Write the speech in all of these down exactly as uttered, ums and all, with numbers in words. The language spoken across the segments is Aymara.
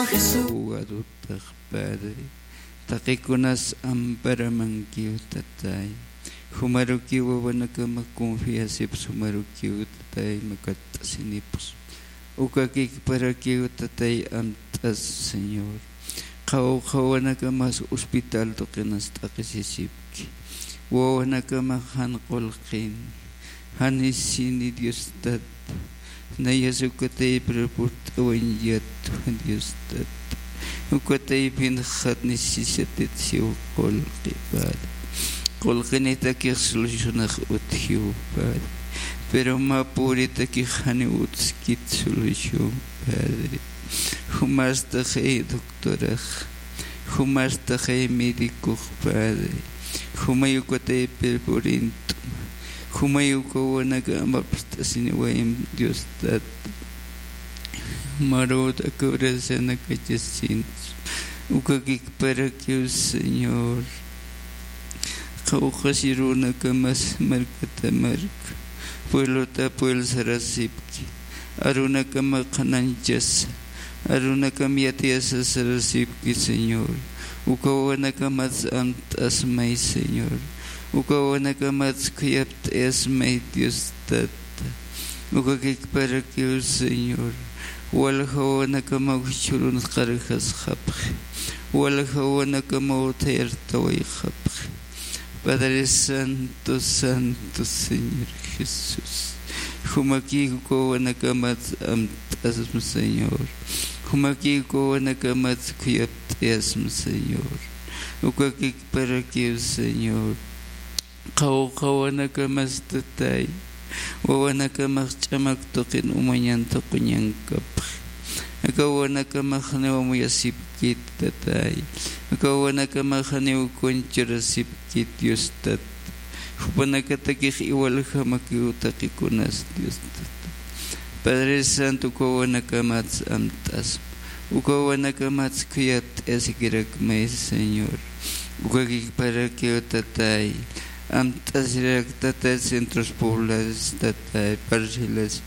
Jesús. Abogadotax, Padre, taqikunas amparamankiw, Tatay. Jumarukiw wawanakama confiasips, jumarukiw, Tatay, makatt'asinips. Uka kikparakiw, Tatay, amt'as, Señor. Qhawqha wawanakamas hospital tuqinas t'aqhisisipki. Wawanakama jan qullqin, jan isini, Dios Tata. Nayas uka taypir purt'awañ yatwa, Dios Tata. Uka taypin jat necesidad siw qullqi, Padre. Qullqinitakix solucionax utjiw, Padre. Pero mä puritakix janiw utskit solución, Padre. Jumastaxay doctorax, jumastaxay médicox, Padre. Jumay uka taypir purint'uma. Jumay uka wawanaka amapst'asiniwayam, Dios Tata. Jumarut aka oracionakachasin. Uka kikparakiw, Señor. Qhawqhasi arunakamas markata marka, pueblota pueblo sarasipki. Arunakama qhananchasa, arunakam yatiyasa sarasipki, Señor. Uka wawanakamats amt'asmay, Señor. Uka wawanakamats khuyapt'ayasmay, Dios Tata. Uka kikparakiw, Señor. Walja wawanakama churun qarjasxapxi. Walja wawanakama uthayartawayxapxi. Padre Santo, Santo Señor Jesús. Jumakï uka wawanakamat amt'asma, Señor. Jumakï uka wawanakamat khuyapt'ayasma, Señor. Uka kikparakiw, Señor. Qhawqha wawanakamas, Tatay. Wawanakamax ch'amak tuqin umañan tuquñankapxi. Aka wawanakamax janiw amuyasipkit, Tatay. Aka wawanakamax janiw conchurasipkit, Dios Tata. Jupanakatakix iwaljamakiw taqikunas, Dios Tata. Padre Santo, uka wawanakamats amt'asma. Uka wawanakamats khuyapt'ayasikirakmay, Señor. Uka kikparakiw, Tatay. Amt'asirak, Tatay, centros poblados, Tatay, parcelas.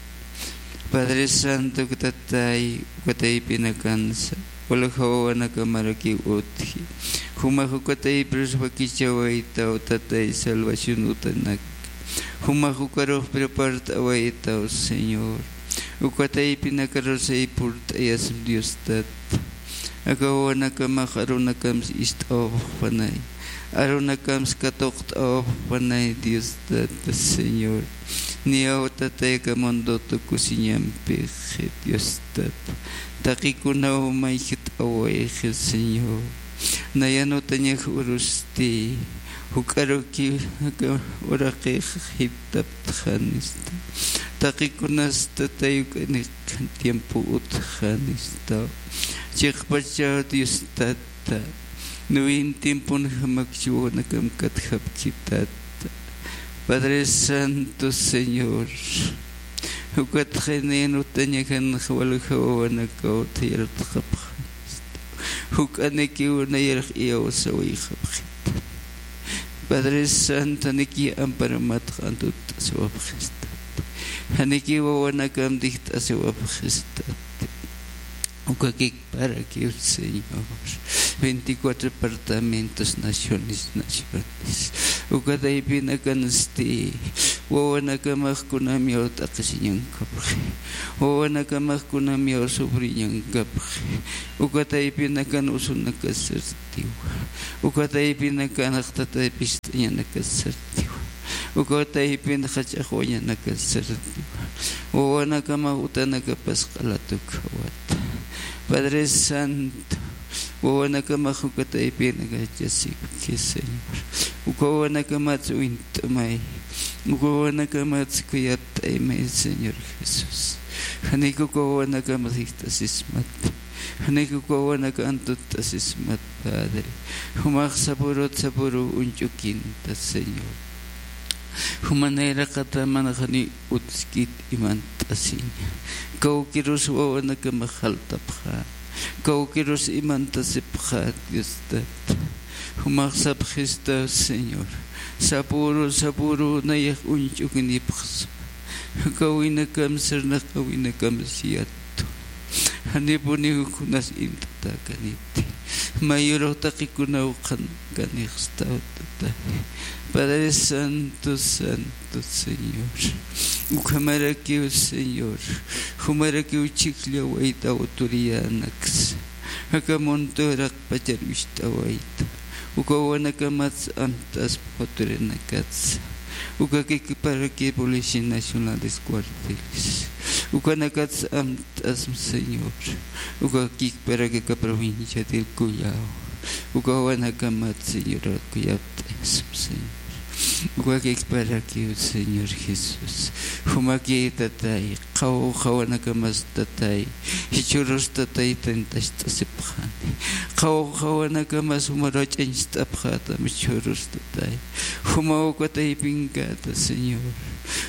Padre Santo, Tatay, uka taypinakansa, walja wawanakamarakiw utji. Jumax uka taypirus wakichawaytaw, Tatay, salvación utanak. Jumax ukarux prepart'awaytaw, Señor. Uka taypinakarus aypurt'ayasma, Dios Tata. Aka wawanakamax arunakams ist'awapxpanay. Arunakams katuqt'awapxpanay, Dios Tata, Señor. Niyaw, Tatay, aka mundo tukusiñampix, Dios Tata. Taqikunaw mayjt'awayxi, Señor. Nayan utañax urusti, juk'aruki aka uraqix jitaptxanista. Taqikunas, Tatay, uk'anik tiempo utjanistaw. Chiqpachaw, Dios Tata. Nuwin tiemponjamakchi wawanakam katjapki, Tata. Padre Santo, Señor. Ukat janiw utañakanxa walja wawanakaw uthayartxapxanista. Juk'anikiw nayarx iyawsawayxapxita. Padre Santo, janiki amparamatx antutt'asiwapxista. Janiki wawanakam dijt'asiwapxista. Uka kikparakiw, Señor. Veinticuatro departamentos, naciones, naciones. Uka taypinakansti, wawanakamax kunamiw t'aqhisiñankapxi. Wawanakamax kunamiw sufriñankapxi. Uka taypinakan usunakasartiwa. Uka taypinakan jaqtatay pist'añanakasartiwa. Uka taypin jach'axwañanakas sartiwa. Wawanakamax utanakapas q'alatukawata. Padre Santo, wawanakamax uka taypinakachasipki, Señor. Uka wawanakamatsa uñt'amay. Uka wawanakamatsa khuyapt'aymay, Señor Jesús. Janik uka wawanakamax jiskt'asismat. Janik uka wawanaka antutt'asismat, Padre. Jumax sapürut sapüru uñch'ukinta, Señor. Juma nayraqata mana janiw utskit imantasiña. Kawkirus wawanakamax jaltapxä. Kawkirus imantasipxä, Dios Tata. Jumax sapxista, Señor. Sapüru, sapüru nayax uñch'uknipxsma. Jaqawinakam sirnaqawinakam siyatu. Janipuniw kunas int'atäkaniti. Mayürux taqikunaw qhankanixstaw, tatay. Padre Santo, Santo Señor. Ukhamarakiw, Señor, jumarakiw chhijllawayta autoridadnaksa. Aka munto uraqpachar uñt'awayta. Uka wawanakamatsa amt'aspa autoridadnakatsa. Uka kikparaki Policía Nacionales, cuarteles. Ukanakatsa amt'asma, Señor. Uka kikparaki aka provincia del Collao. Uka wawanakamat, Señor, kuyapt'asma, Señor. Uka kikparakiw, Señor Jesús. Jumaki, tatay, qhaw qhawanakamas, tatay. Jichhürus, tatay, tentacht'asipxani. Qhaw qhawanakamas jumar wach'añcht'apxätam, jichhürus, tatay. Jumaw uka taypinkäta, Señor.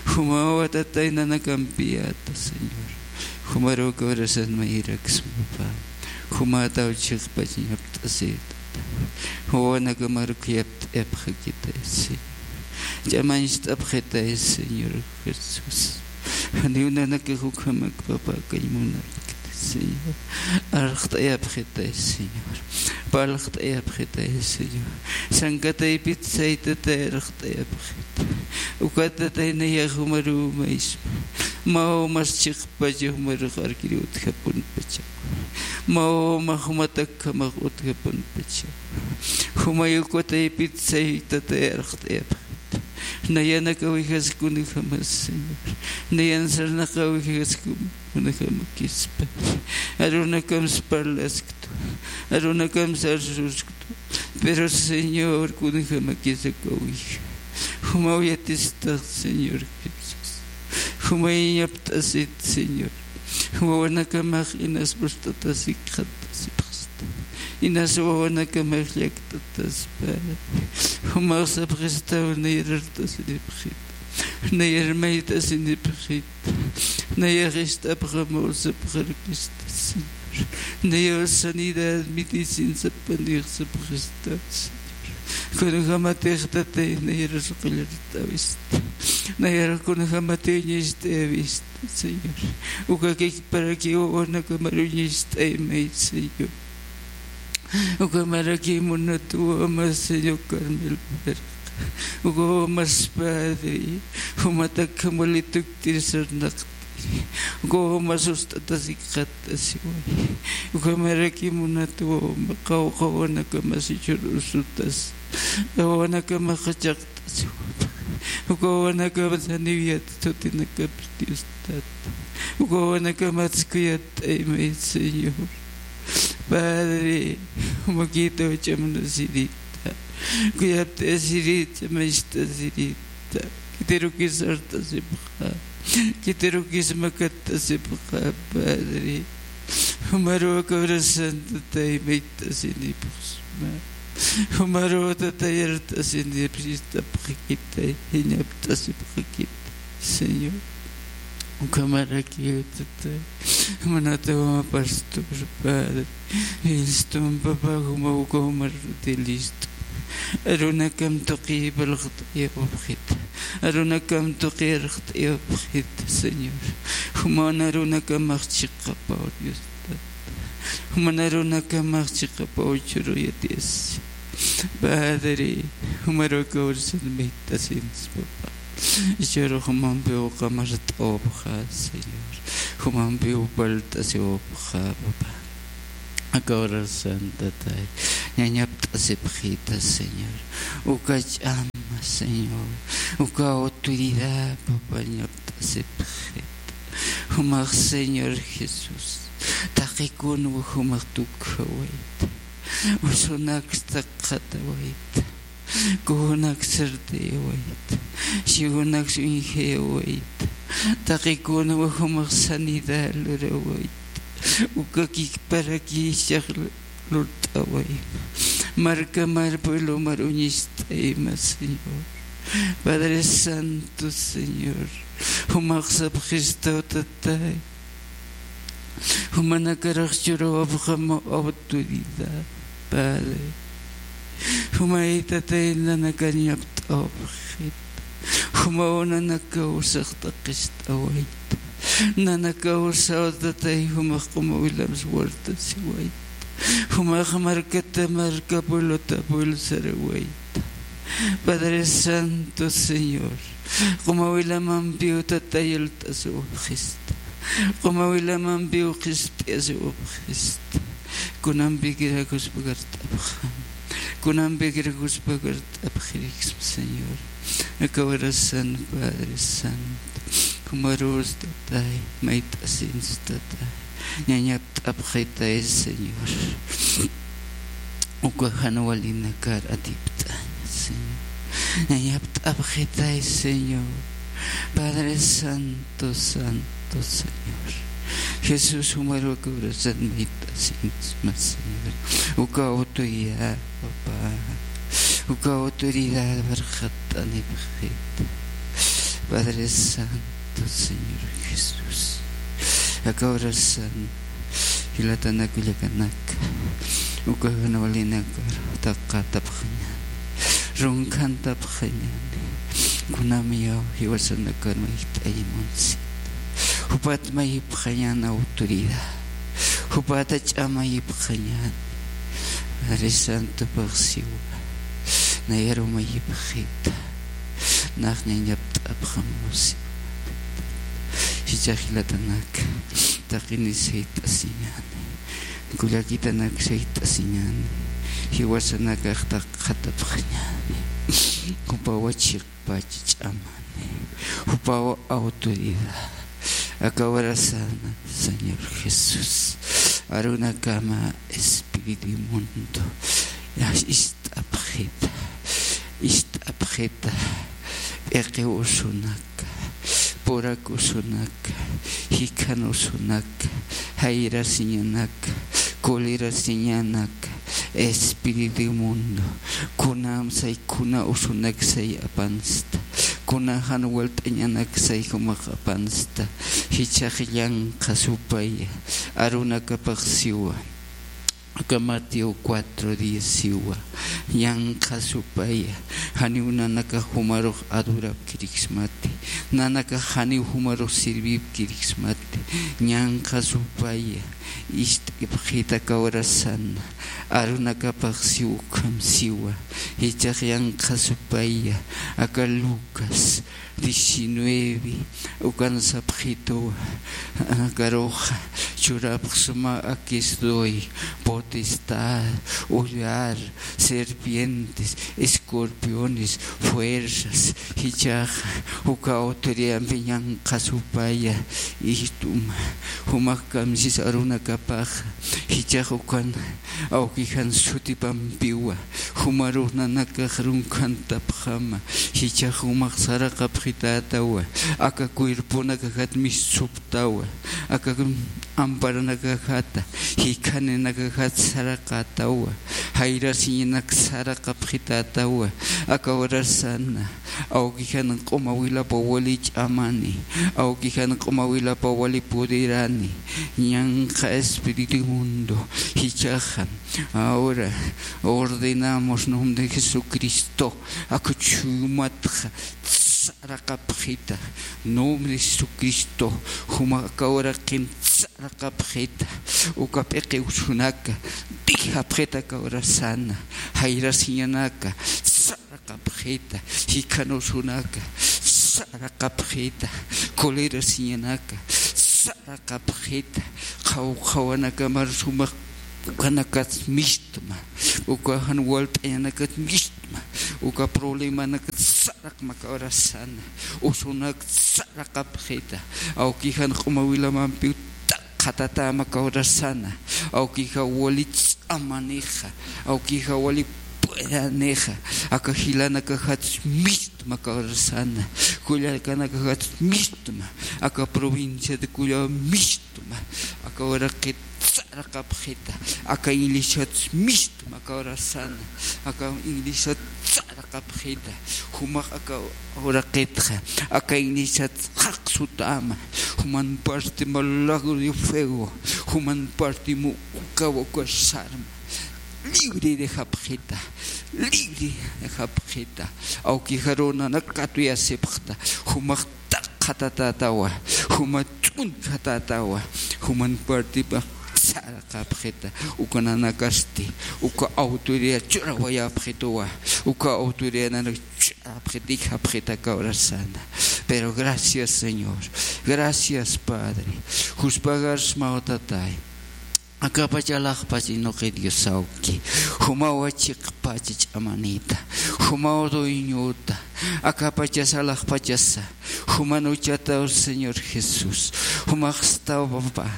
Jumaw, tatay, nanakampiyäta, Señor. Jumaruw aka urasan mayiraksma, papá. Jumätaw chhijpach ñapt'asïta. Wawanakamar khuyapt'ayapxakitay, Señor. Ch'amañcht'apxitay, Señor Jesús. Janiw nanakax ukhamak, papá, akañ munapkiti, Señor. Arxt'ayapxitay, Señor. Parlt'ayapxitay, Señor. Sankataypit saytatay arxt'ayapxita. Ukat, tatay, nayax jumaruw maysma. Mä umas chhijpacha jumarux arkir utjapunpacha. Mä umax jumatak ukhamax utjapunpacha. Jumay uka taypit saytatay arxt'ayapxita. Nayanak awijask kunjamas, Señor. Nayan sarnaq awijask kunjamakispa. Arunakamsa parlasktu. Arunakamsa arsusktu. Pero, Señor, kunjamakis aka awija. Jumaw yatistax, Señor Jesús. Jumay ñapt'asit, Señor. Wawanakamax inas uñt'atasik qhant'asipxsta. Inas wawanakamax llakt'ataspa. Jumax sapxistaw nayar art'asiripxit. Nayar mayt'asinipxit. Nayax ist'apxamaw sapxarkista, Señor. Nayaw sanidad medicina sapanix sapxista, Señor. Kunjamatix, tatay, nayar qullart'awista. Nayar kunjamatiw uñacht'ayawista, Señor. Uka kikparakiw wawanakamar uñacht'aymay, Señor. Ukhamaraki munat wama, Señor Carmelo Verga. Uka wamas, Padre, jumatak amuelituktir sarnaqtiri. Uka wamas uñt'atasik qhant'asiway. Ukhamaraki munat wama, qawqha wawanakamas jichhür usutas. Wawanakamas qhachaq Uka wawanakamas janiw yatitutinakapis Dios Tata. Uka wawanakamas kuyapt'aymay, Señor. Padre, jumakïtaw ch'amanasirita. Kuyapt'asirita, ch'amanasirita. Khitirukis art'asipxa. Khitirukis makatt'asipxa, Padre. Jumaruw aka urasan, tatay, mayt'asinipxsma. Jumaruw, tatay, art'asinipxsma, ist'apxakitay, ñapt'asipxakitay, Señor. Ukhamarakiw, tatay, munat wama pastor, Padre. Listo, papá, juma uka jumar listo. Arunakam tuqi parlt'ayapxit. Arunakam tuqi arxt'ayapxit, Señor. Juman arunakamax chiqapaw, Dios Tata. Juman arunakamax chiqapaw, chhüru yatiyasi. Padre, jumaruw aka urasan mayt'asinsma, papá. Chhüru jumampiw qamart'awapxa, Señor. Jumampiw parlt'asiwapxa, papá. Aka urasan, tatay, ña ñapt'asipxita, Señor. Uka ch'ama, Señor. Uka autoridad, papá, ñapt'asipxita. Jumax, Señor Jesús, taqikun jumax tukjawayta. Usunak taqatawayta. Kunak sartayawayta, siwunak uñjayawayta, taqikuna jumax sanidad lurawayta, uka kikparaki jichhax lurt'awayma, markamar pueblomar uñacht'ayma, Señor. Padre Santo, Señor, jumax sapxistaw, tatay. Jumanakarax churawapxam autoridad, Padre. Jumay, tatay, nanakañ ñapt'awapxit. Jumaw nanakaw sax t'aqist'awayta. Nanakaw saw, Tatay, jumax qumawilamsa wartasiwayta. Jumax markata marka, pueblota pueblo sarawayta. Padre Santo, Señor, qumawilamampiw, Tatay, yalt'asiwapxista. Qumawilamampiw qhispiyasiwapxista. Kunampikirakuspa kart'apxam. Kunampikirakuspa kart'apxiriksma, Señor. Aka horasan, Padre Santo, jumarus, Tatay, mayt'asinsa, Tatay, ñañapt'apxitay, Señor. Uka jan walinakar atipt'aña, Señor. Ñañapt'apxitay, Señor. Padre Santo, Santo, Señor. Jesús, jumaru aka horasan mayt'asinsma, Señor. Uka autoridad, papá. Uka autoridad warxatt'anipxit. Padre Santo, Señor Jesús. Aka horasan, jilatanak, kullakanaka, uka jan walinakar taqatapxañäni, runkantapxañäni. Kunamï jiwasanakar mayt'ayi munsit. Jupat mayipxañäni autoridad. Jupat ch'amayipxañäni. Padre Santo, pagsiwa. Nayaru mayipxita. Nax ñañapt'apxam, Señor. Jichhax jilatanak, taqinisa sayt'asiñäni. Kullakitanak sayt'asiñäni. Jiwasanakax taqatapxañäni. Jupawa chiqpach ch'amani. Jupawa autoridad. Aka horasan, Señor Jesús. Arunakama espíritu inmundo. Ya, ist'apxita. Ist'apxita. P'iqiw usunaka, purak usunaka, jikhan usunaka, jayrasiñanaka, colerasiñanaka, espíritu inmundo, kunam say kuna usunak say apansta, kuna jan walt'añanak say jumax apansta, jichhax yanqha supaya, arunakapax siwa. Aka Mateo cuatro diez siwa, yanqha supaya, janiw nanakax jumarux adorapkiriksmati, nanakax janiw jumarux sirvipkiriksmati, yanqha supaya, ist'ipxita aka horasan, arunakapax siw ukham siwa, jichhax yanqha supaya, aka Lucas, diecinueve, ukan sapxitu, akaruxa churapxsma, aquí estoy, potestad, hollar, serpientes, escorpiones, fuerzas, jichhax uka autoridadampi yanqha supaya, ist'uma, jumax kamsis arunakapax, jichhax ukan, awkijan sutipampiwa, jumarux nanakax runkantapxama, jichhax jumax saraqapxitätawa, aka cuerponakajat mistuptawa, aka amparanakajata, jikhaninakajat saraqätawa, jayrasiñanak saraqapxitätawa, aka horasana, awkijan q'umawilapa wali ch'amani, awkijan q'umawilapa wali poderani, yanqha espíritu inmundo, jichhaxa, ahora ordenamos nombre de Jesucristo, aka chuymatxa saraqapxita, nombre de Jesucristo, juma aka uraqin saraqapxita, uka p'iqi usunaka, dijapxita aka horasana, jayrasiñanaka, saraqapxita, jikhan usunaka, saraqapxita, colerasiñanaka, saraqapxita, qhaw qhawanakamar sumaq ukanakats mistma, uka jan walt'añanakats mistma, uka problemanakats saraqma aka horasana, usunak saraqapxita, awkijan q'umawilamampiw taqatatäma aka horasana, awkija wali ch'amanixa, awkija wali puedanixa, aka jilanakajats mistma aka horasana, kullakanakajats mistma, aka provincia de Cullava mistma, aka uraqit saraqapxita, aka iglesiats mistma aka horasana, aka iglesiats saraqapxita, jumax aka uraqitxa, aka iglesiats jaqsutäma, juman parti ma lago de fuego, juman parti mu ukawa uka sarma, libre dejapxita, libre dejapxita, awkijaru nanak katuyasipxta, jumax taqatatätawa, juma uñjatatawa, juman partipax sarqapxita, uka nanakasti uka autoridad churawayapxituwa, uka autoridad nanak churawapxita, ijapxita kawrasana. Pero gracias, Señor, gracias, Padre, juspagarsmaw, Tatay. Akapacha alaxpach inuqi Diosawki, jumawa chiqpacha ch'amanita, jumaw dueñota, akapachasa alaxpachasa, juman uchataw, Señor Jesús, jumaxstaw, papá.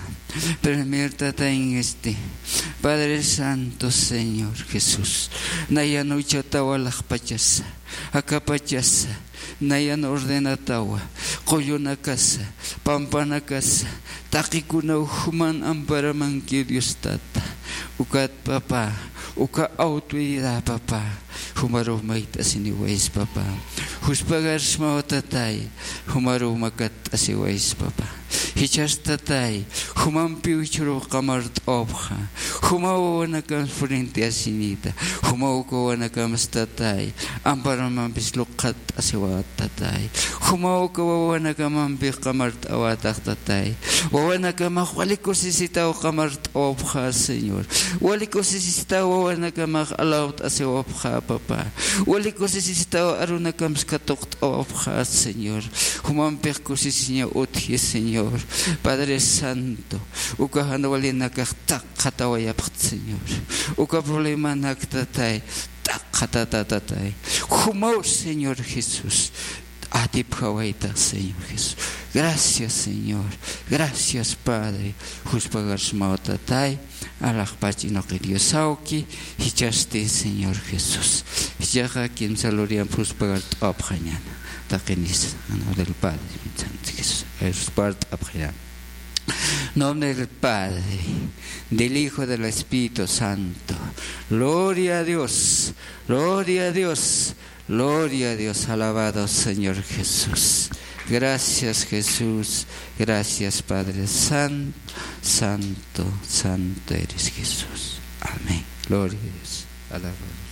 Primer Tatay, en este Padre Santo, Señor Jesús, nayan uchataw alaxpachasa, akapachasa, nayan ordenatawa, qullunakasa, pampanakasa, taqikunaw juman amparamanki, Dios Tata. Ukat, papá, uka autoridad, papá, jumaruw mayt'asiniwaysa, papá. Juspagarsmaw, Tatay, jumaruw makatt'asiwaysa, papá. Jichhas, Tatay, jumampiw jichhüruw qamart'awapxa, jumaw wawanakams frente asinita, jumaw uka wawanakamsa, Tatay, amparamampis luqhat t'asiwat, Tatay. Jumaw uka wawanakamampix qamart'awatax, Tatay. Wawanakamax wali kusisitaw qamart'awapxa, Señor. Wali kusisitaw wawanakamax alawt'asiwapxa, papá. Wali kusisitaw arunakams katuqt'awapxa, Señor. Jumampix kusisiña utji, Señor. Padre Santo, uka jan walinakax taqxatawayapxta, Señor. Uka problemanak, Tatay, taqxatata, Tatay. Jumaw, Señor Jesús, atipjawayta, Señor Jesús. Gracias, Señor. Gracias, Padre. Juspagarsmaw, Tatay. Alaxpach inuqi Diosawki, jichhasti, Señor Jesús. Jichhaxa kimsa luriyamp juspagart'awapxañäni. Taqinis, en nombre del Padre, Santo Jesús. Juspagart'apxañäni. Nombre del Padre, del Hijo, del Espíritu Santo. Gloria a Dios, gloria a Dios, gloria a Dios. Alabado Señor Jesús. Gracias, Jesús. Gracias, Padre Santo, Santo, Santo eres, Jesús. Amén. Gloria a Dios. Alabado.